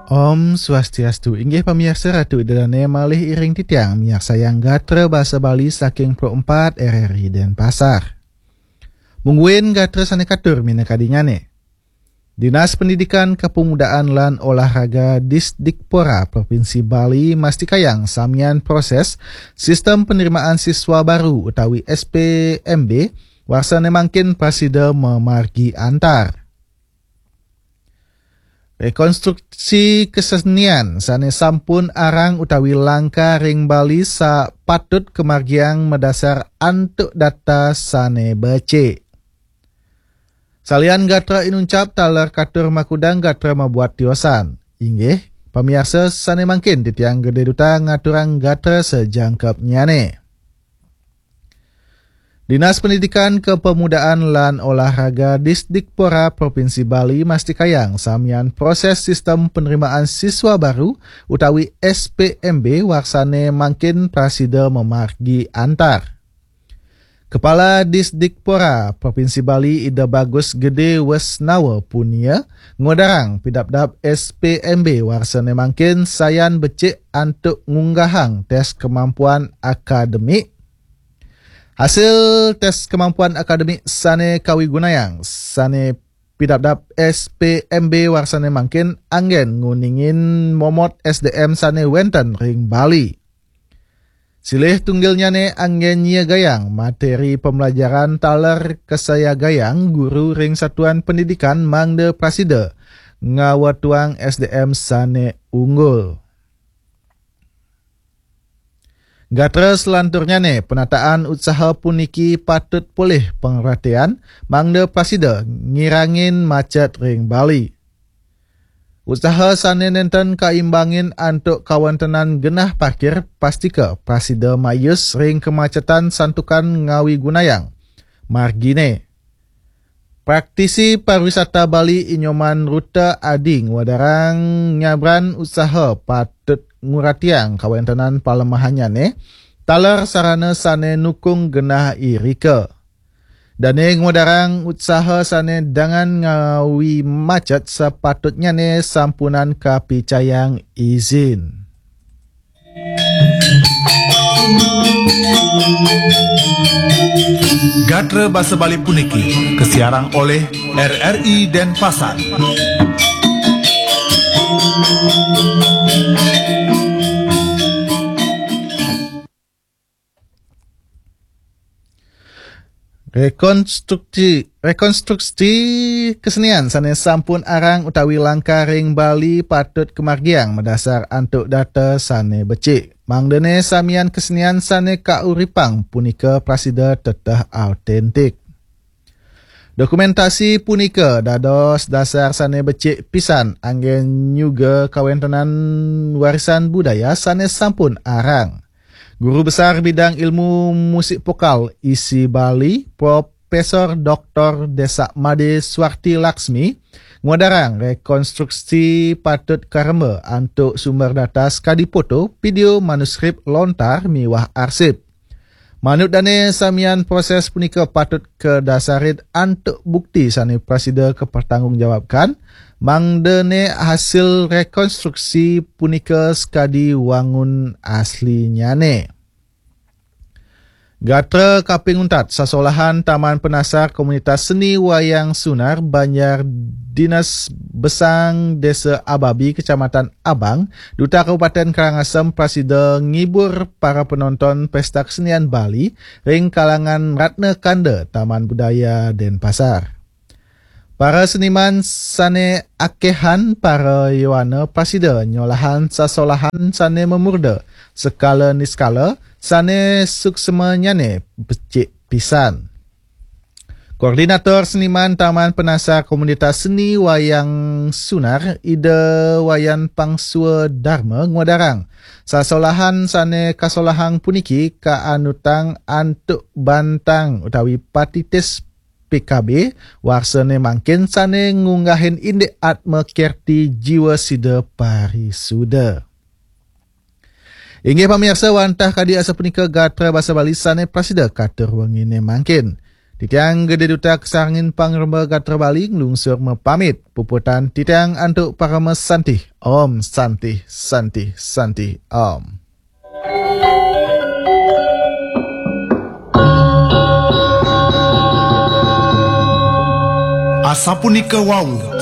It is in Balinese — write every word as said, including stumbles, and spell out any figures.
Om Swastiastu. Inggih pamiarsa, Ratu Ida Dane malih iring titiang miarsayang gatra basa Bali saking Pro empat R R I Denpasar. Mungguin gatra sane katur minakadinane. Dinas Pendidikan, Kepemudaan lan Olahraga Disdikpora Provinsi Bali mastikayang samian proses sistem penerimaan siswa baru utawi S P M B warsane mangkin prasida mamargi antar. Rekonstruksi kesenian sane sampun arang utawi langka ring Bali sa patut kamargiang madasar antuk data sane becik. Salian gatra inuncap taler katur makudang gatra mabuat tiosan. Inggih, pamiarsa sane mangkin titiang Gede Duta ngaturang gatra sajangkepnyane. Dinas Pendidikan, Kepemudaan lan Olahraga Disdikpora Provinsi Bali mastikayang samian proses sistem penerimaan siswa baru utawi S P M B warsane mangkin prasida mamargi antar. Kepala Disdikpora Provinsi Bali Ida Bagus Gede Wesnawa Punia ngudarang pidabdab S P M B warsane mangkin sayan becik antuk ngunggahang tes kemampuan akademik. Hasil tes kemampuan akademik sane kawigunayang sane pidabdab S P M B warsane mangkin anggen nguningin momot S D M sane wenten ring Bali. Silih tunggilnyane anggen nyiagayang materi pembelajaran taler kasayagayang guru ring satuan pendidikan mangda prasida ngawetuang S D M sane unggul. Gatra selanturnyane, penataan utsaha puniki patut polih pangratian mangda prasida ngirangin macet ring Bali. Utsaha sane nenten kaimbangin antuk kawentenan genah parkir pastika prasida mayus ring kemacetan santukan ngawigunayang margine. Praktisi pariwisata Bali Inyoman Ruta Adi ngwedarang nyabran utsaha patut nguratiang kawentenan palemahannyane, taler sarana sane nukung genah irika. Dane ngwedarang utsaha sane dangan ngawi macet sapatutnyane sampunang kapicayang izin. Gatra basa Bali puniki kasiarang olih R R I Denpasar. Rekonstruksi, rekonstruksi kesenian sane sampun arang utawi langka ring Bali patut kamargiang madasar antuk data sane becik. Mangdane samian kesenian sane kauripang punika prasida teteh autentik. Dokumentasi punika dados dasar sane becik pisan anggen nyuga kawentenan warisan budaya sane sampun arang. Guru Besar Bidang Ilmu Musik Vokal I S I Bali, Profesor Doktor Desa Made Swarti Laksmi, ngwedarang rekonstruksi patut karemba antuk sumber data sakadi foto, video, manuskrip, lontar, miwah arsip. Manut dane samian proses punika patut kadasarin antuk bukti sane prasida kapertanggungjawabkan, mangdane hasil rekonstruksi punika sakadi wangun aslinyane. Gatra kaping untat, sasolahan Taman Penasar Komunitas Seni Wayang Sunar Banjar Dinas Besang Desa Ababi, Kecamatan Abang, Duta Kabupaten Karangasem prasida ngibur para penonton Pesta Kesenian Bali ring kalangan Ratna Kanda Taman Budaya Denpasar. Para seniman sane akehan para yowana prasida nyolahang sasolahan sane mamurda sekala niskala sane suksmanyane becik pisan. Koordinator Seniman Taman Penasar Komunitas Seni Wayang Sunar, Ida Wayan Pangsua Darma, ngwedarang, sasolahan sane kasolahang puniki kaanutang antuk bantang utawi patitis P K B warsane mangkin sane ngunggahin indik atma kerti jiwa sida parisuda. Inggih pamiarsa, wantah kadi asapunika gatra basa Bali sane prasida katur wengine mangkin. Titiang Gede Duta Kesarangin Pangremba Gatra Bali nglungsur mapamit. Puputang titiang antuk parama santi. Om Santi, Santi, Santi, Om. Asapunika wau